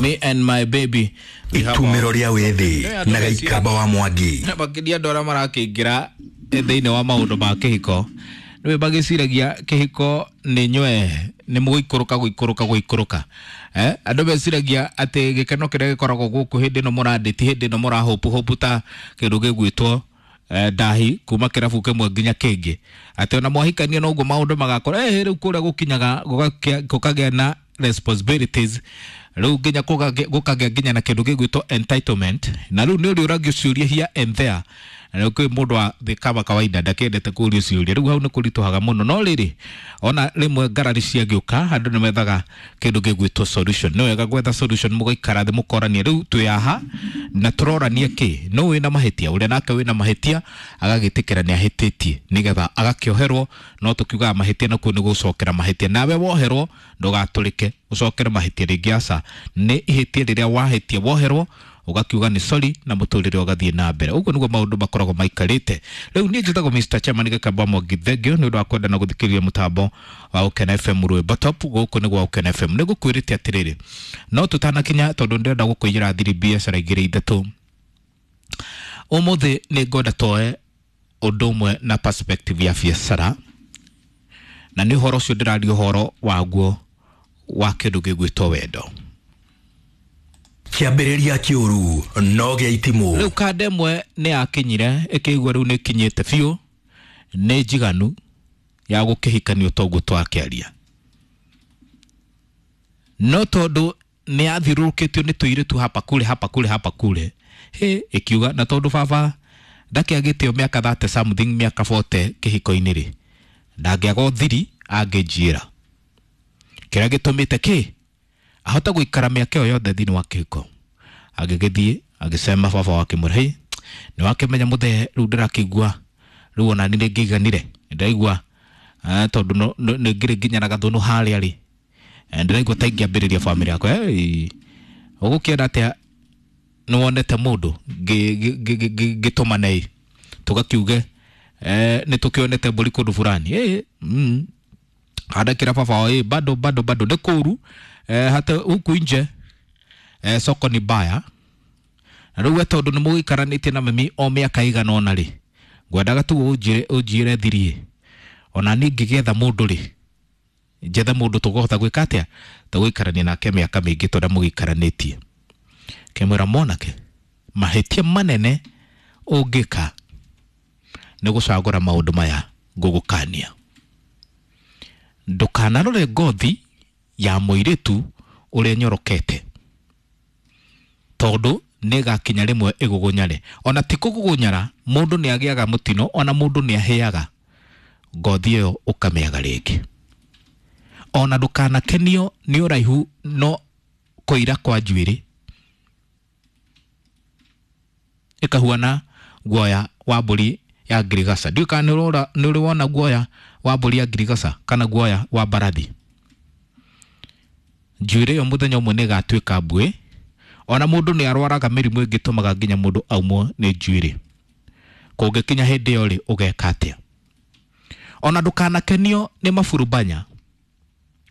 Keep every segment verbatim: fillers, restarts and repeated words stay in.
Me and my baby. Itumĩro rĩa wĩthĩ na Gĩikamba wa Mwangi. Makĩria andũ arĩa marakĩingĩra thĩinĩ wa maũndũ ma kĩhiko nĩwe magĩciragia kĩhiko nĩ nywe nĩ mũgũikũrũka gũikũrũka gũikũrũka. Eh, andũ meciragia atĩ gĩkeno kĩrĩa gĩkoragwo gũkũ hĩndĩ ĩno mũrandĩti hĩndĩ ĩno mũrahũpu hũpu ta kĩndũ gĩgwĩtwo eh, ndahi kuma kĩrabu kĩmwe nginya kĩngĩ, atĩ ona mwahikania noguo maũndũ magakorwo eh, rĩu kũrĩa gũkinyaga gũkagĩa na responsibilities rĩu nginya gũkagĩa nginya na kĩndũ gĩgwĩtwo entitlement, na rĩu nĩ ũrĩũragio ciũria here and there. Na kwĩ mũndũ wa thĩ kama kawaida ndakĩendete kũũrio ciũria, rĩu hau nĩ kũritũhaga mũno. No rĩrĩ, ona rĩmwe ngarari ciagĩũka andũ nĩ methaga kĩndũ gĩgwĩtwo solution. Nĩ wega gwetha solution, mũgaikara thĩ mũkorania rĩu twĩ haha na tũroranie kĩ no wĩna mahĩtia, ũrĩa nake wĩna mahĩtia agagĩtĩkĩra nĩ ahĩtĩtie nĩgetha agakĩoherwo. No tũkiugaga mahĩtia nakuo nĩ gũcokera mahĩtia, nawe woherwo ndũgatũrĩke ũcokere mahĩtia rĩngĩ, aca. Nĩ ihĩtia rĩrĩa wahĩtia woherwo ugakiuga nĩ sorry na mũtũrĩre ũgathiĩ na mbere. Ũguo nĩguo maũndũ makoragwo maikarĩte. Rĩu niĩ njĩtagwo Mister Chairman Gĩkamba Mwangi, thengio nĩ ũndũ wa kwenda na gũthikĩrĩria mũtambo wa Ũkena F M Rwĩmbo Top. Gũkũ nĩ gwa Ũkena F M. Nĩ ngũkwĩrĩte atĩrĩrĩ, no tũtanakinya tondũ ndĩrenda gũkũiyĩra thiri biacara igĩrĩ ithatũ ũmũthĩ, nĩ ngwenda toe ũndũ ũmwe na perspective ya biacara, na nĩ ũhoro ũcio ndĩraria ũhoro waguo wa kĩndũ gĩgwĩtwo wendo. Kĩambĩrĩria kĩũru no gĩa itimũ. Rĩu kanda ĩmwe nĩ yakinyire ĩkĩigua rĩu nĩ ĩkinyĩte biũ, nĩ njiganu ya gũkĩhikanio toguo twakĩaria, no tondũ nĩ yathiũrũrũkĩtio nĩ tũirĩtu hapa kule hapa kule hapa kule, hĩ ĩkiuga na tondũ baba ndakĩagĩte o mĩaka thirty something mĩaka forty kĩhiko-inĩ rĩ, ndangĩaga ũthiri angĩnjĩra kĩrĩa gĩtũmĩte kĩ ahota gũikara mĩaka ĩyo yothe thĩinĩ wa kĩhiko. Agĩgĩthiĩ agĩcema baba wake mwĩra, hĩ nĩ wakĩmenya mũthee, rĩu ndĩrakĩigua rĩu ona niĩ nĩngĩiganire, ndĩraigua tondũ nĩ ngĩrĩ nginya na gathũnũ harĩa rĩ, ndĩraigua ta ingĩambĩrĩria bamĩrĩ yakwa. Ũgũkĩenda atĩa nĩ wonete mũndũ ngĩtũmane ĩ tũgakiuge nĩ tũkĩonete mbũri kũndũ fulani, andakĩra baba wao ĩ bado bado bado nĩ kũũru, hata huku nje soko ni baya. Na rĩu we tondũ nĩ mũgĩikaranĩtie na mami o mĩaka ĩigana ũna rĩ, ngwendaga tu ũnjĩre ũnjĩre thiri, ona niĩ ngĩgetha mũndũ rĩ, njethe mũndũ tũkũhota gwĩka atĩa, tũgũikarania nake mĩaka mĩingĩ ta ũrĩa mũgĩikaranĩtie. Kĩmwĩra mwanake, mahĩtia manene ũngĩka nĩ gũcagũra maũndũ maya ngũgũkania. Ndũkanarore ngothi ya mũirĩtu ũrĩa nyorokete, tondũ nĩĩgakinya rĩmwe ĩgũgũnyare. Ona ti kũgũgũnyara, mũndũ nĩ agĩaga mũtino, ona mũndũ nĩ ahĩaga, ngothi ĩyo ũkamĩaga rĩngĩ. Ona ndũkanakenio nĩ ũraihu no kũira kwa njuĩrĩ ĩkahuana guoya wa mbũri ya ngirigaca. Ndiũĩ kana nĩ ũrĩ wona guoya wa mbũri ya ngirigaca kana guoya wa mbarathi. Njuĩrĩ ĩyo mũthenya ũmwe nĩ ĩgatuĩka mbuĩ. Ona mũndũ nĩ arwaraga mĩrimũ ĩngĩtũmaga nginya mũndũ aumwo nĩ njuĩrĩ. Kũngĩkinya hĩndĩ ĩyo rĩ, ũgeka atĩa? Ona ndũkanakenio nĩ maburubanya,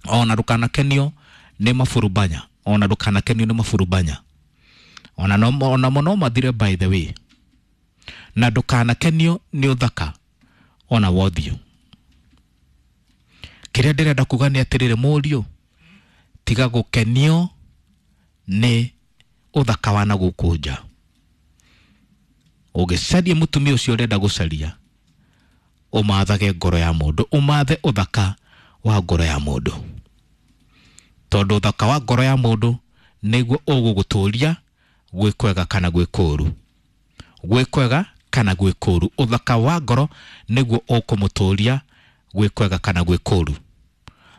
ona ndũkanakenio nĩ maburubanya, ona ndũkanakenio nĩ maburubanya, ona no ona mũno mathire by the way. Na ndũkanakenio nĩ ũthaka ona wothiũ. Kĩrĩa ndĩrenda kuga nĩ atĩrĩrĩ, mũriũ, tiga gũkenio nĩ ũthaka wa na gũkũ nja. Ũgĩcaria mũtumia ũcio ũrenda gũcaria, ũmathage ngoro ya mũndũ, ũmathe ũthaka wa ngoro ya mũndũ, tondũ ũthaka wa ngoro ya mũndũ nĩguo ũgũgũtũria gwĩ kwega kana gwĩ kũũru, gwĩ kwega kana gwĩ kũũru. Ũthaka wa ngoro nĩguo ũkũmũtũria gwĩ kwega kana gwĩ kũũru,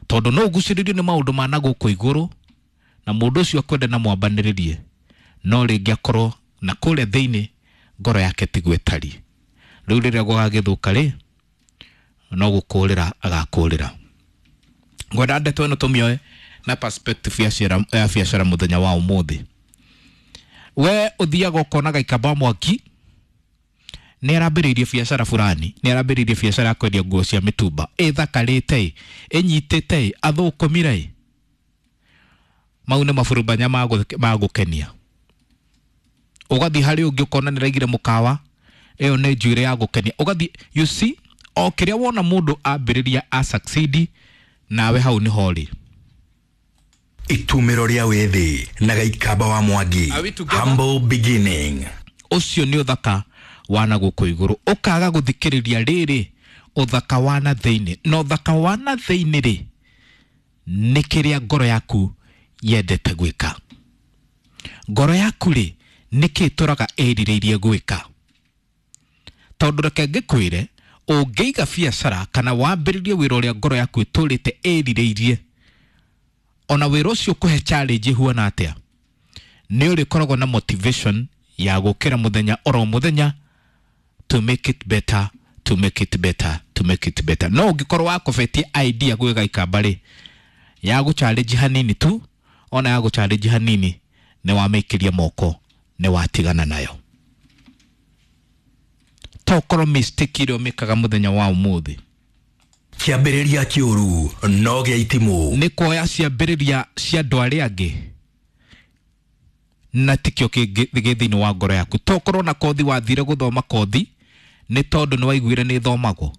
tondũ no ũgucĩrĩrio nĩ maũndũ ma na gũkũ igũrũ na mũndũ ũcio akwende na mwambanĩrĩrie, no rĩngĩ akorwo na kũrĩa thĩinĩ ngoro yake tiguo ĩtariĩ. Rĩu rĩrĩa gũgagĩthũka rĩ, no gũkũrĩra agakũrĩra. Ngwenda ndeto ĩno tũmĩoe na perspective ya ciara ya biacara mũthenya wa ũmũthĩ. We ũthiaga ũkona Gĩikamba Mwangi nĩ arambĩrĩirie biacara fulani, nĩ arambĩrĩirie biacara ya kwendia nguo cia mĩtumba ĩthakarĩte ĩ, ĩnyitĩte ĩ, athũkũmire ĩ, Mau nĩ maburubanya ma gũkenia. Ũgathiĩ harĩ ũngĩ ũkona nĩ raigire mũkawa, ĩyo nĩ njuĩrĩ ya gũkenia. Ũgathiĩ, you see, o kĩrĩa wona mũndũ ambĩrĩria a succeed, nawe hau nĩho ũrĩ. Itumĩro rĩa wĩthĩ na Gaikamba wa Mwangi. Humble beginning. Ũcio nĩ ũthaka wa na gũkũ igũrũ. Ũkaga gũthikĩrĩria rĩrĩ ũthaka wa na thĩinĩ. Na ũthaka wa na thĩinĩ rĩ, nĩ kĩrĩa ngoro yaku yendete gwĩka. Ngoro yaku rĩ, nĩ kĩ ĩtũraga ĩrirĩirie gwĩka. Tondũ reke ngĩkwĩre, ũngĩiga biacara kana wambĩrĩrie wĩra ũrĩa ngoro yaku ĩtũrĩte ĩrirĩirie, ona wĩra ũcio ũkũhe challenge ĩhuana atĩa, nĩ ũrĩkoragwo na motivation ya gũkĩra mũthenya oro mũthenya to make it better, to make it better, to make it better. No ũngĩkorwo wakobetie idea gwĩ Gaikamba rĩ, ya gũ challenge hanini tu, ona ya gũ challenge hanini, nĩ wamĩikĩria moko, nĩ watigana nayo. Tokorwo mistake ĩrĩa ũmĩkaga mũthenya wa ũmũthĩ, kĩambĩrĩria kĩũru no gĩa itimũ, nĩ kuoya ciambĩrĩria cia andũ arĩa angĩ na tikĩo kĩngĩ thĩinĩ wa ngoro yaku. Tokorwo na kothi wathire gũthoma kothi nĩ tondũ nĩ waiguire nĩ ĩthomagwo.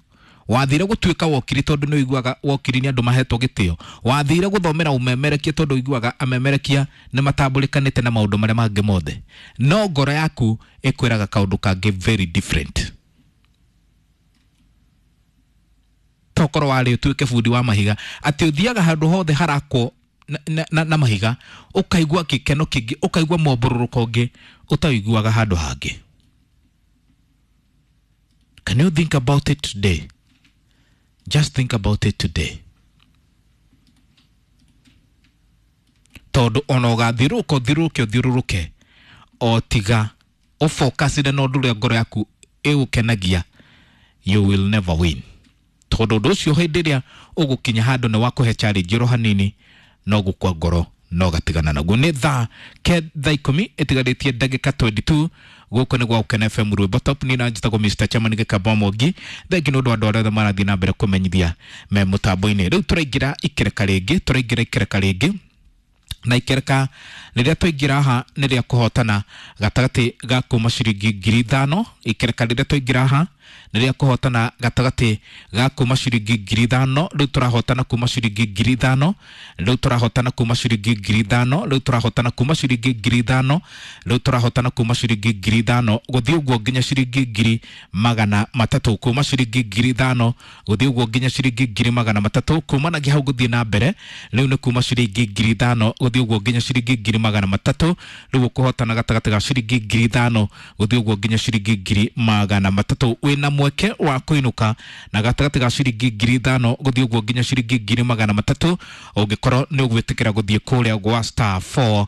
Wathire gũtuĩka wokiri tondũ nĩ ũiguaga wokiri nĩ andũ mahetwo gĩtĩo. Wathire gũthomera ũmemerekia tondũ ũiguaga amemerekia nĩ matambũrĩkanĩte na maũndũ marĩa mangĩ mothe. No ngoro yaku ĩkwĩraga kaũndũ kangĩ very different. Tokorwo warĩ ũtuĩke bundi wa mahiga, atĩ ũthiaga handũ hothe harakwo na, na, na, na mahiga, ũkaigua gĩkeno kĩngĩ, ũkaigua mombũrũrũko ũngĩ ũtaiguaga handũ hangĩ. Can you think about it today? Just think about it today. Tondũ ona ũgathiũrũrũka ũthiũrũrũke ũthiũrũrũke, o tiga ũfocusire na ũndũ ũrĩa ngoro yaku ĩgũkenagia, you will never win. Tondũ ũndũ ũcio hĩndĩ ĩrĩa ũgũkinya handũ nĩ wakũhe challenge oro hanini, no gũkua ngoro no gatigana naguo. Nĩ thaa ke thaa ikũmi ĩtigarĩtie ndagĩka twenty-two. Gũkũ nĩ gwa Gũkena F M Rwĩmbo Top. Niĩ na njĩtagwo Mister Chairman Gĩkamba wa Mwangi. Thengi nĩ ũndũ wa andũ arĩa othe marathiĩ na mbere kũmenyithia me mũtambo-inĩ. Rĩu tũraingĩra ikereka rĩngĩ, tũraingĩra ikereka rĩngĩ, na ikereka rĩrĩa twaingĩra haha nĩ rĩa kũhotana gatagatĩ ga kuma ciringi ngiri ithano. Ikereka rĩrĩa twaingĩra haha nĩ rĩa kũhotana gatagatĩ ga kuma ciringi ngiri ithano. Rĩu tũrahotana kuma ciringi ngiri ithano. Rĩu tũrahotana kuma ciringi ngiri ithano. Rĩu tũrahotana kuma ciringi ngiri ithano. Rĩu tũrahotana kuma ciringi ngiri ithano gũthiĩ ũguo nginya ciringi ngiri magana matatũ. Kuma ciringi ngiri ithano gũthiĩ ũguo nginya ciringi ngiri magana matatũ. Kumanagia hau gũthiĩ na mbere, rĩu nĩ kuma ciringi ngiri ithano gũthiĩ ũguo nginya ciringi ngiri magana matatũ. Rĩu ũkũhotana gatagatĩ ga ciringi ngiri ithano gũthiĩ ũguo nginya ciringi ngiri magana matatũ. Wĩna mweke wa kũinũka na gatagatĩ ga ciringi ngiri ithano gũthiĩ ũguo nginya ciringi ngiri magana matatũ, ũngĩkorwo nĩ ũgwĩtĩkĩra gũthiĩ kũrĩa gwa star four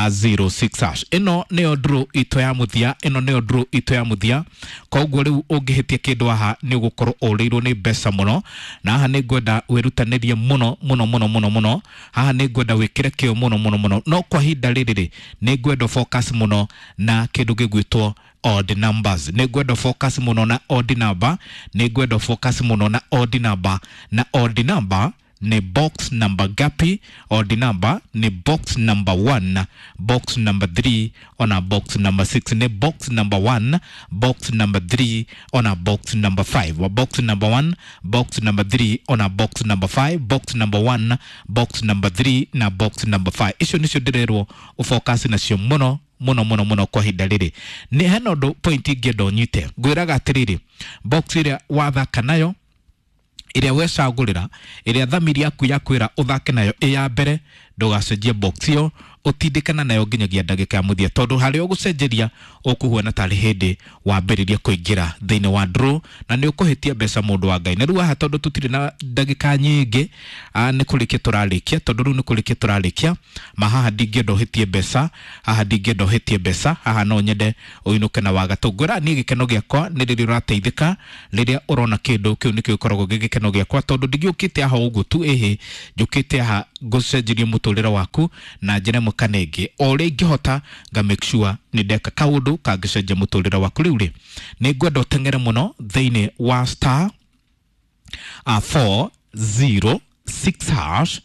zero six hash. Ĩno nĩyo draw itũ ya mũthia, ĩno nĩyo draw itũ ya mũthia. Koguo rĩu ũngĩhĩtia kĩndũ haha nĩ ũgũkorwo ũrĩirwo nĩ mbeca mũno, na haha nĩ ngwenda wĩrutanĩrie mũno mũno mũno mũno mũno. Haha nĩ ngwenda wĩkĩre kĩo mũno mũno mũno. No kwa ihinda rĩrĩ rĩ, nĩ ngwenda focus mũno na kĩndũ gĩgwĩtwo odd numbers. Nĩ ngwenda focus mũno na odd number, nĩ ngwenda focus mũno na odd number, na odd number ni box number gapi? Odd number ni box number one, box number three ona box number six. Ni box number one, box number three ona box number five. Box number one, box number three ona box number five, box number one, box number three na box number five. Icio nicio ndĩrerwo ũfocus nacio mũno mũno mũno mũno kwa ihinda rĩrĩ. Nĩ hena ũndũ point ingĩenda ũnyite. Ngwĩraga atĩrĩrĩ, box ĩrĩa wathaka nayo, ĩrĩa wecagũrĩra, ĩrĩa thamiri yaku yakwĩra ũthake nayo ĩ ya mbere, ndũgacenjie box ĩyo, ũtindĩkana nayo nginyagia ndagĩka ya mũthia, tondũ harĩa ũgũcenjeria ũkũhuana tarĩ hĩndĩ wambĩrĩria kũingĩra thĩinĩ wa draw na nĩ ũkũhĩtia mbeca mũndũ wa Ngai. Na rĩu haha tondũ tũtirĩ na ndagĩka nyingĩ, nĩ kũrĩkia tũrarĩkia, tondũ rĩu nĩ kũrĩkia tũrarĩkia, ma haha ndingĩenda ũhĩtie mbeca, haha ndingĩenda ũhĩtie mbeca, haha no nyende ũinũke na wagatũ. Ngwĩra niĩ gĩkeno gĩakwa nĩ rĩrĩa ũrateithĩka, rĩrĩa ũrona kĩndũ kĩu nĩkĩo gĩkoragwo gĩ gĩkeno gĩakwa, tondũ ndingĩũkĩte haha ũguo tu, ĩhĩ njũkĩte haha ngũcenjerie mũtũrĩre waku na njĩra ĩmwe kana ĩngĩ, o ũrĩa ingĩhota nga make sure nĩ ndeka kaũndũ kangĩcenjia mũtũrĩre waku. Rĩu rĩ, nĩ ngwenda ũteng'ere mũno thĩinĩ wa star uh, four zero six hash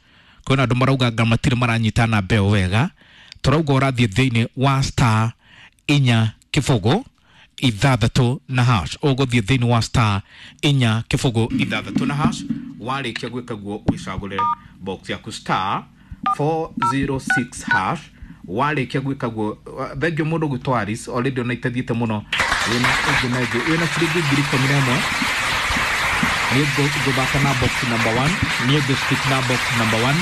Kwĩna andũ marauga anga matirĩ maranyita namba ĩyo wega. Tũrauga ũrathiĩ thĩinĩ wa star inya kĩbũgũ ithathatũ na hash. Ũgũthiĩ thĩinĩ wa star inya kĩbũgũ ithathatũ na hash. Warĩkia gwĩka guo wĩcagũre box yaku star four zero six hash. Warĩkia gwĩka guo, thengio mũndũ gwĩtwo Alice already ona itathiĩte mũno wĩna ũngĩ na ĩngĩ wĩna ciringi ngiri ikũmi na ĩmwe. Niĩ ngũthaka na box number one, niĩ ngũ stick na box number one,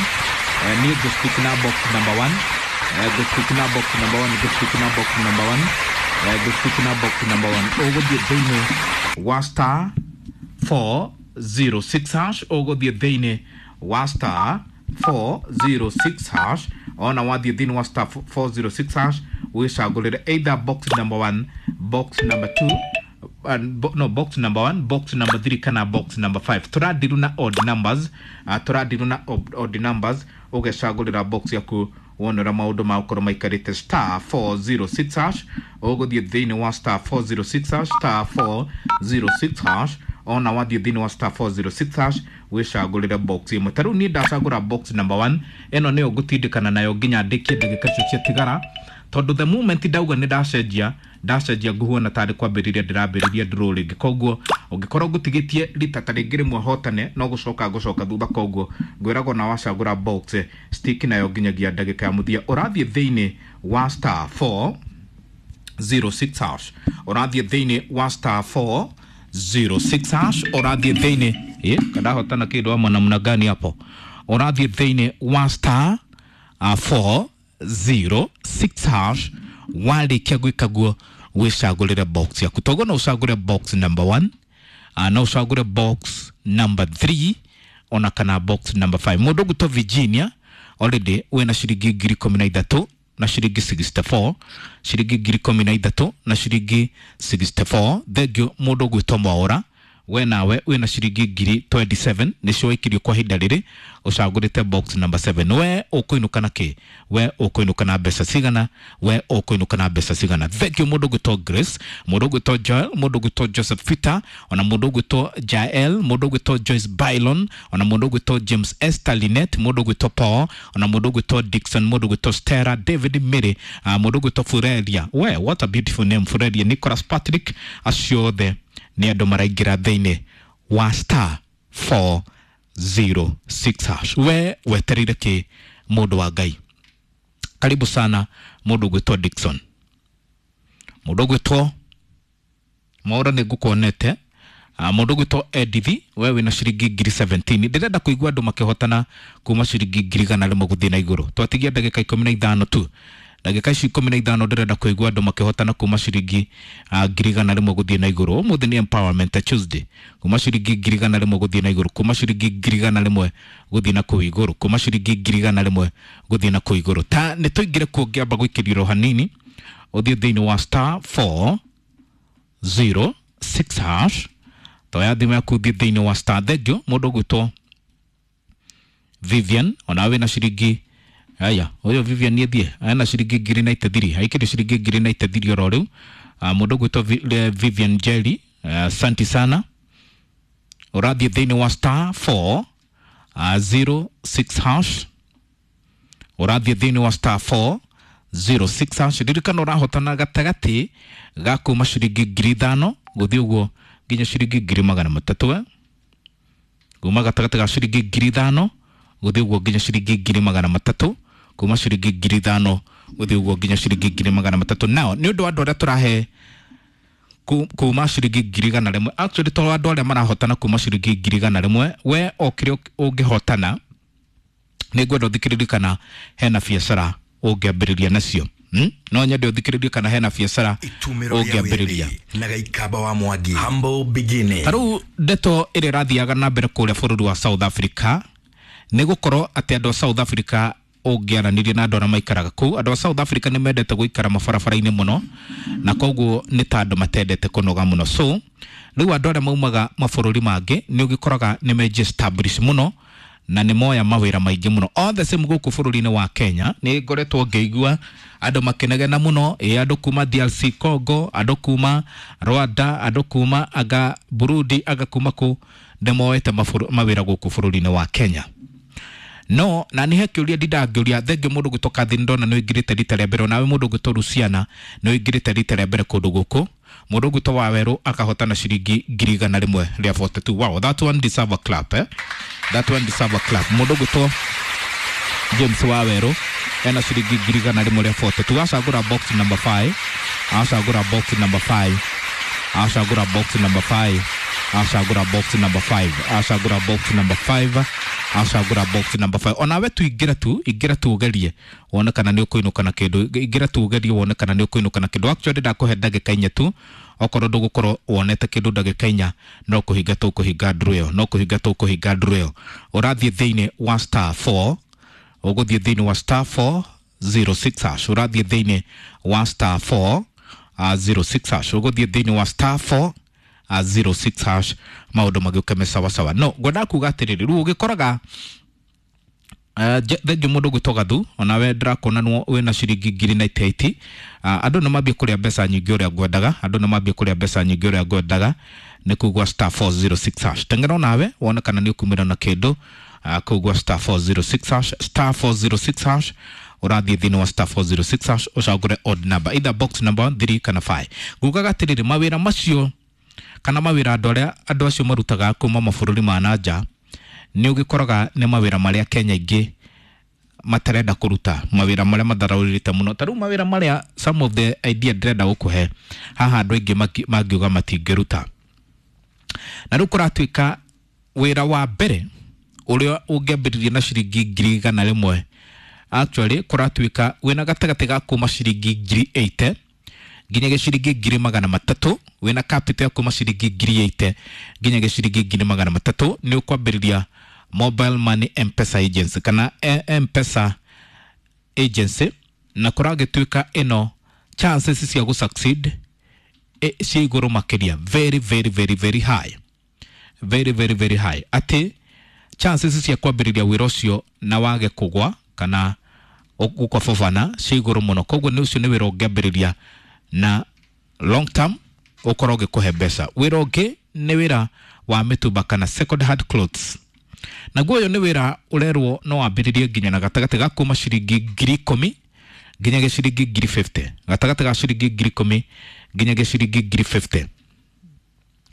niĩ ngũ stick na box number one, ngũ stick na box number one, ngũ stick na box number one, ngũ stick na box number one. Ũgũthiĩ thĩinĩ wa star four zero six hash, ũgũthiĩ thĩinĩ wa star four zero six hash. Ona wathiĩ thĩinĩ wa star four zero six hash wĩcagũrĩre either box number one, box number two, and bo, no box number one, box number three kana box number five. Tũradiru na odd numbers, uh, tũradiru na odd numbers. Ũgecagũrĩra box yaku wone ũrĩa maũndũ magũkorwo maikarĩte. Star four zero six hash, ũgũthiĩ thĩinĩ wa star four zero six hash, star four zero six hash. Ona wathiĩ thĩinĩ wa star four zero six hash wĩcagũrĩre box ĩmwe. Ta rĩu niĩ ndacagũra box number one, ĩno nĩyo ngũtindĩkana nayo nginya ndĩkie ndagĩka icio ciatigara, tondũ the moment ndauga nĩ ndacenjia ndacenjia nguhuana tarĩ kwambĩrĩria ndĩrambĩrĩria draw rĩngĩ. Koguo ũngĩkorwo ngũtigĩtie rita ta rĩngĩ rĩmwe hotane, no gũcoka ngũcoka thutha. Koguo ngwĩragwo na wacagũra box stick nayo nginyagia ndagĩka ya mũthia. Ũrathiĩ thĩinĩ wa star four zero six hash, ũrathiĩ thĩinĩ wa star four zero six hash, ũrathiĩ thĩinĩ ĩ kadahotana kĩndũ ama namna gani hapo. Ũrathiĩ thĩinĩ wa star uh, four zero six hash. Warĩkia gwĩka guo wĩcagũrĩre box yaku. Toguo no ũcagũre box number one, uh, no ũcagũre box number three ona kana box number five. Mũndũ ũgwĩtwo Virginia already wĩna ciringi ngiri ikũmi na ithatũ na ciringi sixty four, ciringi ngiri ikũmi na ithatũ na ciringi sixty four. Thengio mũndũ ũgwĩtwo Mwaũra, we nawe wĩna ciringi ngiri twenty seven nĩcio waikirio kwa ihinda rĩrĩ ũcagũrĩte box number seven. We ũkũinũka na kĩ? We ũkũinũka na mbeca cigana? We ũkũinũka na mbeca cigana? Thengio mũndũ ũgwĩtwo Grace, mũndũ ũgwĩtwo Joel, mũndũ ũgwĩtwo Joseph Peter, ona mũndũ ũgwĩtwo Jael, mũndũ ũgwĩtwo Joyce Bylon, ona mũndũ ũgwĩtwo James Esther Linet, mũndũ ũgwĩtwo Paul, ona mũndũ ũgwĩtwo Dixon, mũndũ ũgwĩtwo Stella David Mary, uh, mũndũ ũgwĩtwo Furelia. We what a beautiful name, Furelia Nicholas Patrick. Acio othe nĩ andũ maraingĩra thĩinĩ wa star four zero six hash. We wetereire kĩ mũndũ wa Ngai? Karibu sana mũndũ ũgwĩtwo Dixon, mũndũ ũgwĩtwo Mwaũra nĩ ngũkuonete, uh, mũndũ ũgwĩtwo Edith, we wĩna ciringi ngiri seventeen. Ndĩrenda kũigua andũ makĩhotana kuma ciringi ngiri igana rĩmwe gũthiĩ na igũrũ. Twatigia ndagĩka ikũmi na ithano tu, ndagĩka ici ikũmi na ithano ndĩrenda kũigua andũ makĩhotana kuma ciringi uh, ngiri igana rĩmwe gũthiĩ na igũrũ. Ũmũthĩ nĩ empowerment Tuesday. Kuma ciringi ngiri igana rĩmwe gũthiĩ na igũrũ, kuma ciringi ngiri igana rĩmwe gũthiĩ na kũu igũrũ, kuma ciringi ngiri igana rĩmwe gũthiĩ na kũu igũrũ. Ta nĩ tũingĩre kuo ngĩamba gũikĩrio hanini, ũthiĩ thĩinĩ wa star four zero six hash. Toya thimũ yaku ũthiĩ thĩinĩ wa star. Thengio mũndũ ũgwĩtwo Vivian, ona wĩna ciringi aya ũyũ Vivian nĩ thiĩ ena ciringi ngiri ninety three, aikĩrio ciringi ngiri ninety three oro rĩu. Uh, mũndũ ũgwĩtwo Vivian Jerry, uh, santi sana. Ũrathiĩ thĩinĩ wa star four uh, zero six hash, ũrathiĩ thĩinĩ wa star four zero six hash. Ririkana ũrahotana gatagatĩ ga kuma ciringi ngiri ithano gũthiĩ ũguo nginya ciringi ngiri magana matatũ, kuma gatagatĩ ga ciringi ngiri ithano gũthiĩ ũguo nginya ciringi ngiri magana matatũ, kuma ciringi ngiri ithano gũthiĩ ũguo nginya ciringi ngiri magana matatũ. Nao nĩ ũndũ wa andũ arĩa tũrahe kuma ciringi ngiri igana rĩmwe, actually to andũ arĩa marahotana kuma ciringi ngiri igana rĩmwe, we o kĩrĩa ũngĩhotana nĩ ngwenda ũthikĩrĩrie kana hena biacara ũngĩambĩrĩria nacio. Hmm? No nyende ũthikĩrĩrie kana hena biacara ũngĩambĩrĩria. Na Gaikaba wa Mwangi, humble beginning. Ta rĩu ndeto ĩrĩa ĩrathiaga na mbere kũrĩa bũrũri wa South Africa nĩ gũkorwo atĩ andũ a South Africa ũngĩaranĩria na andũ arĩa maikaraga kũu, andũ a South Africa nĩ mendete gũikara mabarabara-inĩ mũno, na koguo nĩ ta andũ matendete kũnoga mũno. So rĩu andũ arĩa maumaga mabũrũri mangĩ nĩ ũgĩkoraga nĩ meji establish mũno na nĩ moya mawĩra maingĩ mũno. All the same gũkũ bũrũri-inĩ wa Kenya nĩ ngoretwo ngĩigua andũ makĩnegena mũno, ĩ andũ kuma D R C Congo, andũ kuma Rwanda, andũ kuma aga Burundi, aga kuma kũ, nĩ moete mawĩra gũkũ bũrũri-inĩ wa Kenya. No na nĩ he kĩũria ndindangĩũria. Thengio mũndũ gwĩtwo Catherine, ndona nĩ ũingĩrĩte rita rĩa mbere. Onawe mũndũ gwĩtwo Luciana nĩ ũingĩrĩte rita rĩa mbere kũndũ gũkũ. Mũndũ gwĩtwo Wawerũ akahotana ciringi ngiri igana rĩmwe rĩa mĩrongo ĩnana na igĩrĩ. Wow, that one deserve a clap, eh? That one deserve a clap. Mũndũ gwĩtwo James Wawerũ ena ciringi ngiri igana rĩmwe rĩa mĩrongo ĩnana na igĩrĩ. Acagũra box number five, acagũra box number five, acagũra box number five, acagũra box number five, acagũra box number five, acagũra box number five. Onawe tu ingĩra tu, ingĩra tu ũgerie wone kana nĩ ũkũinũka na kĩndũ. Ingĩra tu ũgerie wone kana nĩ ũkũinũka na kĩndũ. Actually, ndakũhe ndagĩka inya tu. Okorwo ndũgũkorwo wonete kĩndũ ndagĩka inya, no kũhinga tũkũhinga ndũrũ ĩyo, no kũhinga tũkũhinga ndũrũ ĩyo. Ũrathiĩ thĩinĩ wa star four, ũgũthiĩ thĩinĩ wa star four zero six hash, ũrathiĩ thĩinĩ wa star four zero six hash, ũgũthiĩ thĩinĩ wa star four zero six hash, maũndũ magĩũke me sawasawa. No ngwendaga kuga atĩrĩrĩ, rĩu ũgĩkoraga thengio mũndũ gwĩtwo Gathu, onawe ndĩrakuona nĩ wĩna ciringi ngiri mĩrongo ĩnana na kenda. Andũ nĩ mambie kũrĩa mbeca nyingĩ ũrĩa ngwendaga, andũ nĩ mambie kũrĩa mbeca nyingĩ ũrĩa ngwendaga. Nĩ kugua star four zero six hash, teng'era onawe wone kana nĩ ũkumĩra na kĩndũ kũu gwa star four zero six hash, star four zero six hash. Ũrathiĩ thĩinĩ wa star four zero six hash, ũcagũre odd number, either box number three kana five. Ngugaga atĩrĩrĩ, mawĩra macio kana mawĩra andũ arĩa andũ acio marutaga kuma mabũrũri ma na nja, nĩ ũgĩkoraga nĩ mawĩra marĩa Kenya ingĩ matarenda kũruta, mawĩra marĩa matharaũrĩte mũno. Ta rĩu mawĩra marĩa, some of the idea ndĩrenda gũkũhe haha, andũ aingĩ mangiuga matingĩruta. Na rĩu kũratuĩka wĩra wa mbere ũrĩa ũngĩambĩrĩria na ciringi ngiri igana rĩmwe, actually kũratuĩka wĩna gatagatĩ ga kuma ciringi ngiri mĩrongo ĩnane nginya ciringi ngiri magana matatũ. Wĩna capital ya kuma ciringi ngiri mĩrongo ĩnane nginya ciringi ngiri magana matatũ, nĩ ũkwambĩrĩria mobile money M-Pesa agency kana M-Pesa agency. Na kũragĩtuĩka ĩno chances cia gũ succeed cia igũrũ makĩria, very very very very high, very very very high, atĩ chances cia kwambĩrĩria wĩra ũcio na wage kũgwa kana gũkwabobana cia igũrũ mũno. Koguo nĩ ũcio nĩ wĩra ũngĩambĩrĩria na long term ũkorwo ũgĩkũhe mbeca. Wĩra ũngĩ nĩ wĩra wa mĩtumba kana second hand clothes. Naguo ũyũ nĩ wĩra ũrerwo no wambĩrĩrie nginya na gatagatĩ ga kuma ciringi ngiri ikũmi nginya ciringi ngiri mĩrongo ĩtano, gatagatĩ ga ciringi ngiri ikũmi nginya ciringi ngiri mĩrongo ĩtano,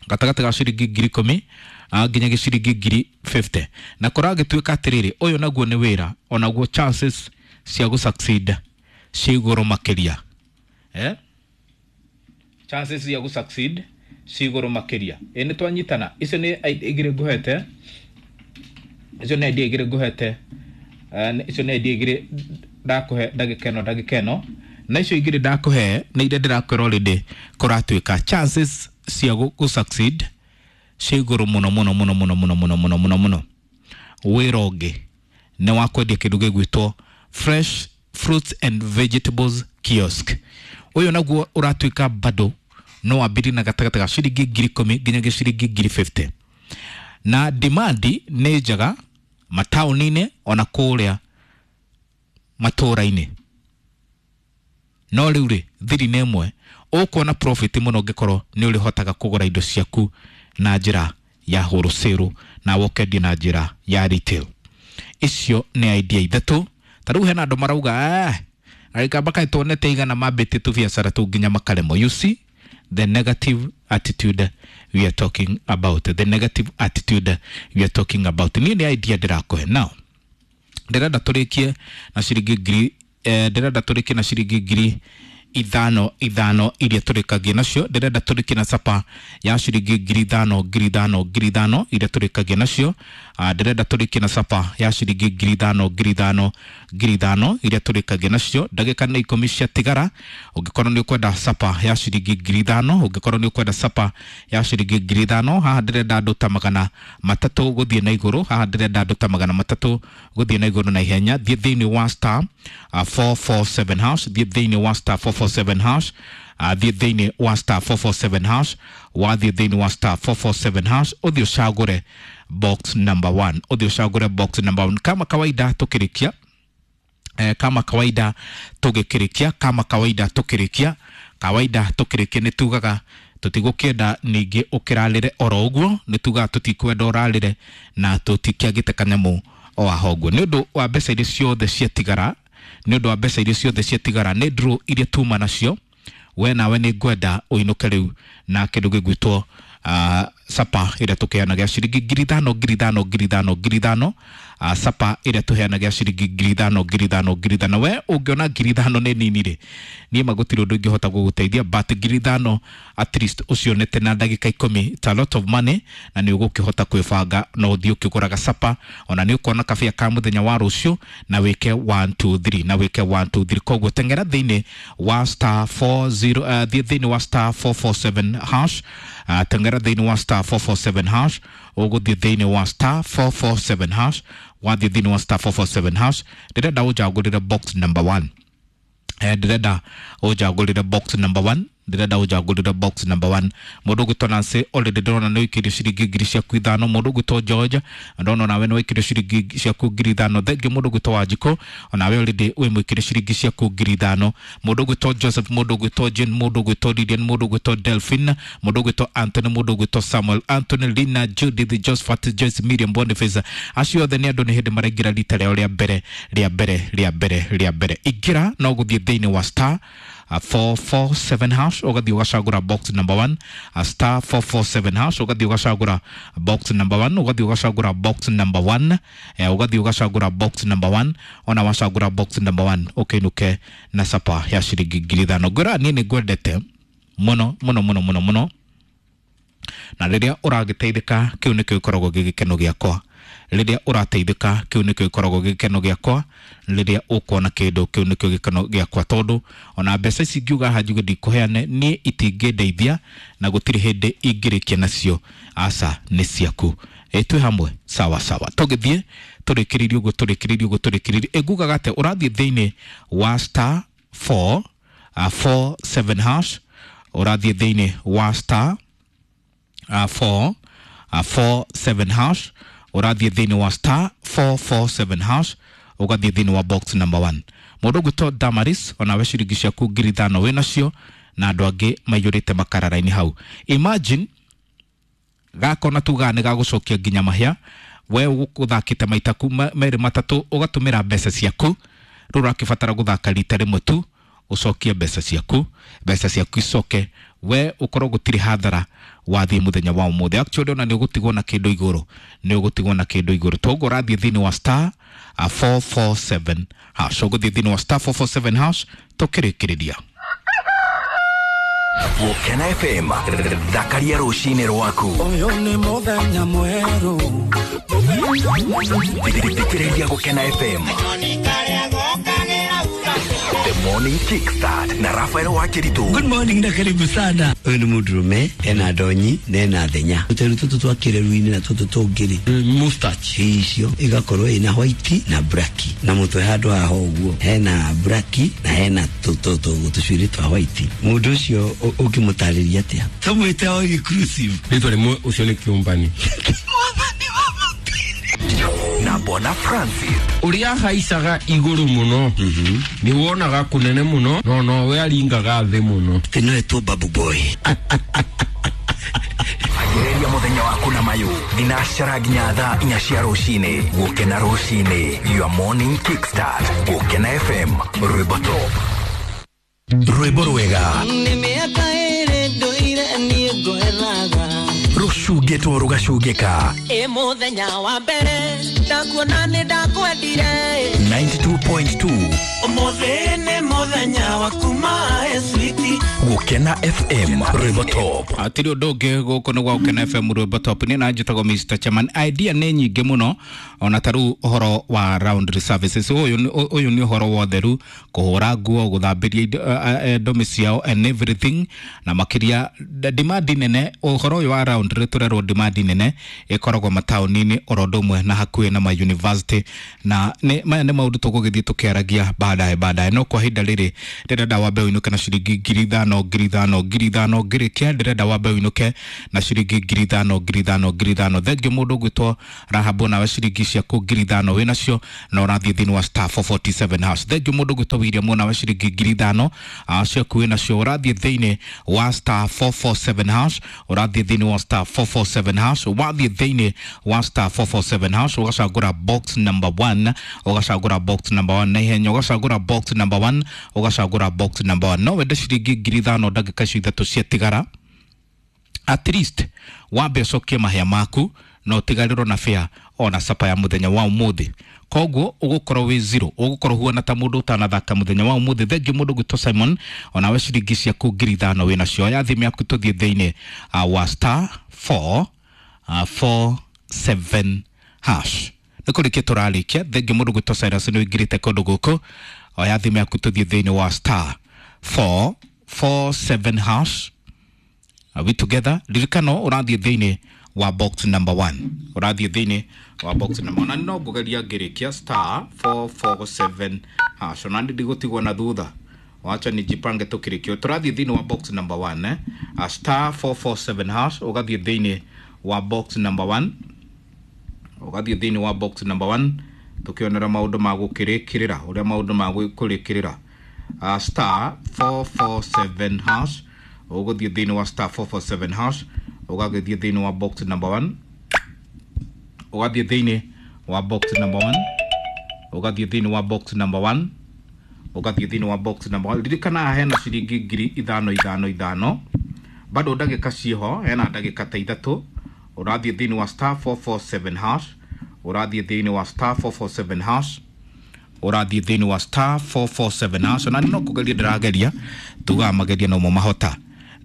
gatagatĩ ga ciringi ngiri ikũmi nginya ciringi ngiri mĩrongo ĩtano. Na kũragĩtuĩka atĩrĩrĩ, ũyũ naguo nĩ wĩra onaguo chances cia gũ succeed cia igũrũ makĩria, eh? Chances cia gũ succeed cia igũrũ makĩria. Ĩ nĩ twanyitana? Icio nĩ igĩrĩ ngũhete, icio nĩ idea igĩrĩ ngũhete, icio nĩ idea igĩrĩ ndakũhe ndagĩka ĩno, ndagĩka ĩno. Na icio igĩrĩ ndakũhe nĩ iria ndĩrakwĩra already kũratuĩka chances cia gũ succeed cia igũrũ mũno mũno mũno mũno mũno mũno mũno mũno mũno. Wĩra ũngĩ nĩ wa kwendia kĩndũ gĩgwĩtwo fresh fruits and vegetables kiosk. Ũyũ naguo ũratuĩka bado no wambĩrĩrie na gatagatĩ ga ciringi ngiri ikũmi nginya ciringi ngiri mĩrongo ĩtano, na demand nĩ njega mataũni-inĩ ona kũrĩa matũũra-inĩ. No rĩu rĩ, thiri nĩ ĩmwe, ũkuona profit mũno ũngĩkorwo nĩ ũrĩhotaga kũgũra indo ciaku na njĩra ya wholesale na ũkendia na njĩra ya retail. Icio nĩ idea ithatũ. Ta rĩu hena andũ marauga, eh Gikamba kaĩ tuonete igana mambĩtie tũbiacara tũu nginya makaremwo. You see the negative attitude we are talking about, the negative attitude we are talking about. Niĩ nĩ idea ndĩrakũhe. Now ndĩrenda tũrĩkie na ciringi ngiri eh, ndĩrenda tũrĩkie na ciringi ngiri ithano ithano iria tũrĩkagia nacio. Ndĩrenda tũrĩkie na capa ya ciringi ngiri ithano, ngiri ithano, ngiri ithano iria tũrĩkagia nacio. Ah, ndĩrenda tũrĩkie na capa ya ciringi ngiri ithano, ngiri ithano, ngiri ithano iria tũrĩkagia nacio. Ndagĩka nĩ ikũmi ciatigara. Ũngĩkorwo nĩ ũkwenda capa ya ciringi ngiri ithano, ũngĩkorwo nĩ ũkwenda capa ya ciringi ngiri ithano, haha ndĩrenda andũ ta magana matatũ gũthiĩ na igũrũ. Haha ndĩrenda andũ ta magana matatũ gũthiĩ na igũrũ na ihenya. Thiĩ thĩinĩ wa star uh, four four seven hash, thiĩ thĩinĩ wa star four four seven hash, uh, thiĩ thĩinĩ wa star four four seven hash. Wathiĩ thĩinĩ wa star four four seven hash, ũthiĩ ũcagũre box number one, ũthiĩ ũcagũre box number one. Kama kawaida tũkĩrĩkia, eh, kama kawaida tũgĩkĩrĩkia, kama kawaida tũkĩrĩkia, kawaida tũkĩrĩkia, nĩ tugaga tũtigũkĩenda ningĩ ũkĩrarĩre oro ũguo. Nĩ tugaga tũtikwenda ũrarĩre na tũtikĩagĩte kanyamũ. o aho ũguo nĩ ũndũ wa mbeca iria ciothe ciatigara, nĩ ũndũ wa mbeca iria ciothe ciatigara nĩ draw iria tuma nacio, we nawe nĩ ngwenda ũinũke rĩu na kĩndũ gĩgwĩtwo uh, sapa ĩrĩa tũkĩheanaga ciringi ngiri ithano ngiri ithano ngiri ithano ngiri ithano, uh, sapa ĩrĩa tũheanaga ciringi ngiri ithano ngiri ithano ngiri ithano. We ũngĩona ngiri ithano nĩ nini rĩ, niĩ ma gũtirĩ ũndũ ingĩhota gũgũteithia, but ngiri ithano at least ũcionete na ndagĩka ikũmi, it's a lot of money, na nĩ ũgũkĩhota kwĩbanga na ũthiĩ ũkĩgũraga sapa, ona nĩ ũkona kabĩa ka mũthenya wa rũciũ na wĩke one two three na wĩke one two three. Koguo teng'era thĩinĩ wa star four zero, uh, thiĩ thĩinĩ wa star four four seven hash, uh, teng'era thĩinĩ wa star four four seven hash, ũgũthiĩ thĩinĩ wa star four four seven hash, wathiĩ thĩinĩ wa star four four seven hash, ndĩrenda ũnjagũrĩre box number one, eh, ndĩrenda ũnjagũrĩre box number one, ndĩrenda ũnjagũrĩre box number one. Mũndũ ũgwĩtwo Nancy already ndĩrona nĩ ũikĩrie ciringi ngiri ciaku ithano. Mũndũ ũgwĩtwo George ndona onawe nĩ waikĩrie ciringi ciaku ngiri ithano. Thengiũ mũndũ ũgwĩtwo Wanjikũ onawe already wĩ mũikĩrie ciringi ciaku ngiri ithano. Mũndũ ũgwĩtwo Joseph, mũndũ ũgwĩtwo Jane, mũndũ ũgwĩtwo Lilian, mũndũ ũgwĩtwo Delphine, mũndũ ũgwĩtwo Anthony, mũndũ ũgwĩtwo Samuel, Anthony, Lina, Judith, Josephat, Joyce, Miriam, Boniface, acio othe nĩ andũ nĩ hĩndĩ maraingĩra rita rĩao rĩa mbere rĩa mbere rĩa mbere rĩa mbere. Ingĩra no gũthiĩ thĩinĩ wa star Uh, four four seven hash, ũgathiĩ ũgacagũra box number one, uh, star four four seven hash, ũgathiĩ ũgacagũra box number one, ũgathiĩ ũgacagũra box number one, eh, ũgathiĩ ũgacagũra box number one, ona wacagũra box number one ũkĩinũke na sapa ya ciringi ngiri ithano. Ngwĩra niĩ nĩ ngwendete mũno mũno mũno mũno mũno, na rĩrĩa ũragĩteithĩka kĩu nĩkĩo gĩkoragwo gĩ gĩkeno gĩakwa, rĩrĩa ũrateithĩka kĩu nĩkĩo gĩkoragwo gĩkeno gĩakwa, rĩrĩa ũkuona kĩndũ kĩu nĩkĩo gĩkeno gĩakwa, tondũ ona mbeca ici ngiuga haha njuge ndikũheane niĩ itingĩndeithia na gũtirĩ hĩndĩ ingĩrĩkia nacio, aca nĩ ciaku. Ĩ twĩ hamwe sawa sawa, tũgĩthiĩ tũrĩkĩrĩrie ũguo tũrĩkĩrĩrie ũguo tũrĩkĩrĩrie. Ĩ ngugaga atĩ ũrathiĩ thĩinĩ wa star four, uh, four seven hash, ũrathiĩ thĩinĩ wa star uh, four, uh, four seven hash, ũrathiĩ thĩinĩ wa star four four seven hash, ũgathiĩ thĩinĩ wa box number one. Mũndũ ũgwĩtwo Damaris onawe ciringi ciaku ngiri ithano wĩ nacio, na andũ angĩ maiyũrĩte makarara-inĩ hau. Imagine gakona tugaga nĩ gagũcokia nginya mahĩa, we ũgũthakĩte maita merĩ matatũ ũgatũmĩra mbeca ciaku, rĩu ũrakĩbatara gũthaka rita rĩmwe tu ũcokie mbeca ciaku, mbeca ciaku icoke, we ũkorwo gũtirĩ hathara wathiĩ mũthenya wa ũmũthĩ. Actually ona nĩ ũgũtigwo na kĩndũ igũrũ, nĩ ũgũtigwo na kĩndũ igũrũ. Toguo ũrathiĩ thĩinĩ wa star uh, four four seven hash, ũgũthiĩ thĩinĩ wa star four four seven hash tũkĩrĩkĩrĩria. Gũkena F M, thakaria rũcinĩ rwaku. Ũyũ nĩ mũthenya mwerũ. Thikĩrĩria Gũkena F M. The Morning Kickstart na Rafael Wakiritu. Good morning na karibu sana. Ũyũ nĩ mũndũrũme ena ndonyi na ena thenya. Tũteru tũtũ twa kĩreru-inĩ na tũtũ tũngĩ rĩ, mustache icio igakorwo ina white na black, na mũtwe handũ haha ũguo hena black na hena tũcuĩrĩ twa white. Mũndũ ũcio ũngĩmũtarĩria atĩa? Tũmwĩte o inclusive. Rĩtwa rĩmwe ũcio nĩ kĩũmbani. Na Bona Francis. Ũrĩa haicaga igũrũ mũno, nĩ wonaga kũnene mũno, no nowe aringaga thĩ mũno. Atĩ no etwo Babu Boy. Anjĩrĩria mũthenya waku na mayũ thinacara nginya thaa inya cia rũcinĩ. Gũkena rũcinĩ, your morning kickstart. Gũkena F M, rwĩmbo top, rwĩmbo rwega Nĩ mĩaka ĩrĩ ndũire niĩ ngwethaga, rũcungĩtwo rũgacungĩka. Ĩ mũthenya wa mbere ndakuona nĩ ndakwendire. ninety-two point two Ũmũthĩ nĩ mũthenya waku my sweetie. Gũkena F M, rwĩmbo top. Hatirĩ ũndũ ũngĩ gũkũ nĩ gwa Gũkena F M rwĩmbo top. Niĩ na njĩtagwo Mister Chairman. Idea nĩ nyingĩ mũno, ona ta rĩu ũhoro wa laundry services. Ũyũ ũyũ nĩ ũhoro wa ũtheru, kũhũra nguo, gũthambĩria ndomi ciao and everything, na makĩria demand nene. Ũhoro ũyũ wa laundry tũrerwo demand nene ĩkoragwo mataũni-inĩ oro ũndũ ũmwe na hakuhĩ na ma university, na nĩ maya nĩ maũndũ tũgũgĩthiĩ tũkĩaragia baadaye baadaye. No kwa ihinda rĩrĩ ndĩrenda wambe ũinũke na ciringi ngiri ithano ithano ngiri ithano ngiri ithano. Ngĩrĩkia ndĩrenda wambe ũinũke na ciringi ngiri ithano ngiri ithano ngiri ithano. Thengiũ mũndũ ũgwĩtwo Rahabu, nawe ciringi ciaku ngiri ithano wĩ nacio na ũrathiĩ thĩinĩ wa star four forty seven hash. Thengiũ mũndũ ũgwĩtwo William, nawe ciringi ngiri ithano ciaku wĩ nacio, ũrathiĩ thĩinĩ wa star four four seven hash, ũrathiĩ thĩinĩ wa star four four seven hash, wathiĩ thĩinĩ wa star four four seven hash ũgacagũra box number one, ũgacagũra box number one na ihenya, ũgacagũra box number one, ũgacagũra box number one. No wende ciringi ngiri ithano ndagĩka icio ithatũ ciatigara, at least wambe ũcokie mahĩa maku na ũtigarĩrwo na fare ona sapa ya mũthenya wa ũmũthĩ. Koguo ũgũkorwo wĩ zero, ũgũkorwo huana ta mũndũ ũtanathaka mũthenya wa ũmũthĩ. Thengiũ mũndũ gwĩtwo Simon, onawe ciringi ciaku ngiri ithano wĩ nacio. Oya thimũ yaku tũthiĩ thĩinĩ uh, wa star four uh, four seven hash. Nĩ kũrĩkia tũrarĩkia. Thengiũ mũndũ gwĩtwo Cyrus nĩ ũingĩrĩte kũndũ gũkũ. Oya thimũ yaku tũthiĩ thĩinĩ wa star four four seven hash. Are we together? Ririkano ũrathiĩ thĩinĩ wa box number one, ũrathiĩ thĩinĩ wa box number one. Na no ngũgeria ngĩrĩkia star four four seven hash, ona ndigũtigwo na thutha, wacha nijipange tukĩrĩkio. Tũrathiĩ thĩinĩ wa box number one, eh? A star four four seven hash, ũgathiĩ thĩinĩ wa box number one, ũgathiĩ thĩinĩ wa box number one, tukĩonera maũndũ ma gũkĩrĩkĩrĩra ũrĩa maũndũ ma kũrĩkĩrĩra. Uh, star four four seven hash, ũgũthiĩ thĩinĩ wa star four four seven hash, ũgagĩthiĩ thĩinĩ wa box number one, ũgathiĩ thĩinĩ wa box number one, ũgathiĩ thĩinĩ wa box number one, ũgathiĩ thĩinĩ wa box number one. Ririkana hena ciringi ngiri ithano ithano ithano, bado ndagĩka ciĩho, hena ndagĩka ta ithatũ. Ũrathiĩ thĩinĩ wa star four four seven hash, ũrathiĩ thĩinĩ wa star four four seven hash, ũrathiĩ thĩinĩ wa star four four seven hash. Na no kũgeria ndĩrageria, tugaga mageria no mo mahota.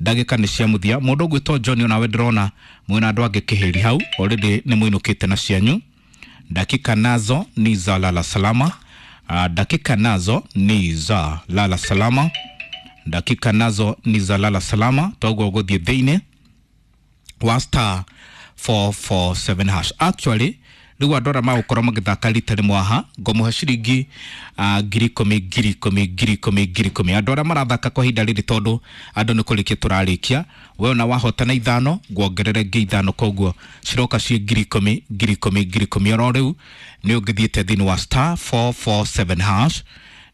Ndagĩka nĩ cia mũthia. Mũndũ ũgwĩtwo John, onawe ndĩrona mwĩna andũ angĩ kĩhĩri hau already nĩ mũinũkĩte na cianyu. Dakika nazo ni za lala salama. Uh, dakika nazo ni za lala salama, dakika nazo ni za lala salama. Toguo ũgũthiĩ thĩinĩ wa star four four seven hash. Actually rĩu andũ arĩa magũkorwo magĩthaka rita rĩmwe haha ngũmũhe ciringi uh, ngiri ikũmi ngiri ikũmi ngiri ikũmi ngiri ikũmi. Andũ arĩa marathaka kwa ihinda rĩrĩ, tondũ andũ nĩ kũrĩkia tũrarĩkia, we ona wahotana ithano nguongerere ngĩ ithano, koguo ciroka ciĩ ngiri ikũmi ngiri ikũmi ngiri ikũmi. Oro rĩu nĩ ũngĩthiĩte thĩinĩ wa star four four seven hash,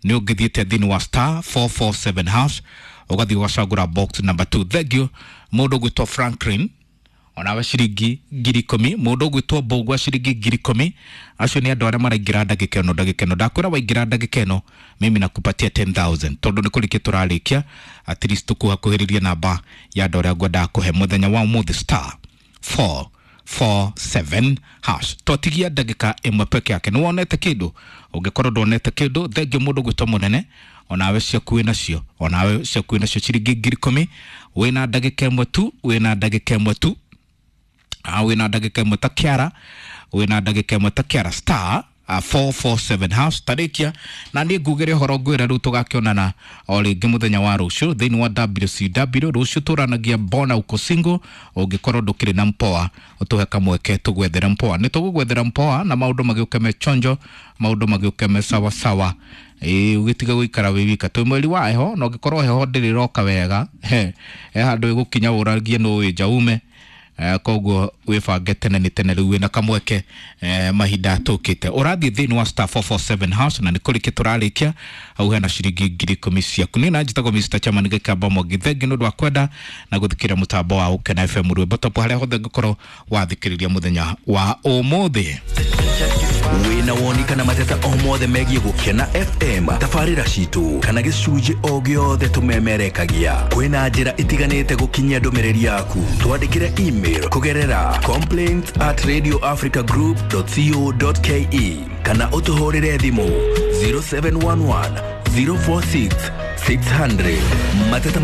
nĩ ũngĩthiĩte thĩinĩ wa star four four seven hash, ũgathiĩ ũgacagũra box number two. Thengiũ mũndũ ũgwĩtwo Franklin, onawe ciringi ngiri ikũmi. Mũndũ ũgwĩtwo Mbũgua ciringi ngiri ikũmi. Acio nĩ andũ arĩa maraingĩra ndagĩka ĩno ndagĩka ĩno. Ndakwĩra waingĩra ndagĩka ĩno mimi nakupatia ten thousand, tondũ nĩ kũrĩkia tũrarĩkia, at least tũkuhakuhĩrĩria namba ya andũ arĩa ngwendaga kũhe mũthenya wa ũmũthĩ star four four seven hash. Twatigia ndagĩka ĩmwe peke yake. Nĩ wonete kĩndũ? Ũngĩkorwo ndwonete kĩndũ, thengiũ mũndũ ũgwĩtwo Mũnene, onawe ciaku wĩ nacio, onawe ciaku wĩ nacio ciringi ngiri ikũmi. Wĩna ndagĩka ĩmwe tu, wĩna ndagĩka ĩmwe tu, ah, wĩna ndagĩka ĩmwe ta kĩara, wĩna ndagĩka ĩmwe ta kĩara star uh, four four seven hash. Tarĩkia na niĩ ngugĩre ũhoro ngwĩre rĩu tũgakĩonana o rĩngĩ mũthenya wa rũciũ thĩinĩ wa W C W. Rũciũ tũranagia mbona uko single. Ũngĩkorwo ndũkĩrĩ na mpoa, ũtũhe kamweke tũgwethere mpoa. Nĩ tũgũgwethera mpoa na maũndũ magĩũke me chonjo, maũndũ magĩũke me sawa sawa. Ĩĩ ũgĩtiga gũikara wĩ wika. Twĩ mweri wa heho, na ũngĩkorwo heho ndĩrĩ ĩroka wega, he he handũ ĩgũkinya ũragie nũ wĩ nja ume. Uh, koguo wĩbange tene nĩ tene rĩu wĩna kamweke eh, mahinda tũkĩte. Ũrathiĩ thĩinĩ wa star four four seven hash na nĩ kũrĩkia tũrarĩkia hau hena ciringi ngiri ikũmi ciaku. Niĩ na njĩtagwo Mister Chairman Gĩkamba Mwangi. Thengiũ nĩ ũndũ wa kwenda na gũthikĩrĩria mũtambo wa Ũkena F M rwĩmbo top harĩa hothe ngũkorwo wathikĩrĩria mũthenya wa ũmũthĩ. Wĩna woni kana mateta o mothe megiĩ Gũkena F M, tabarĩra citũ kana gĩcunjĩ o gĩothe tũmemerekagia, kwĩna njĩra itiganĩte gũkinyia ndũmĩrĩri yaku. Twandĩkĩre email kũgerera complaints at radio africa group dot co dot ke kana ũtũhũrĩre thimũ zero seven one one zero four six six hundred. Mateta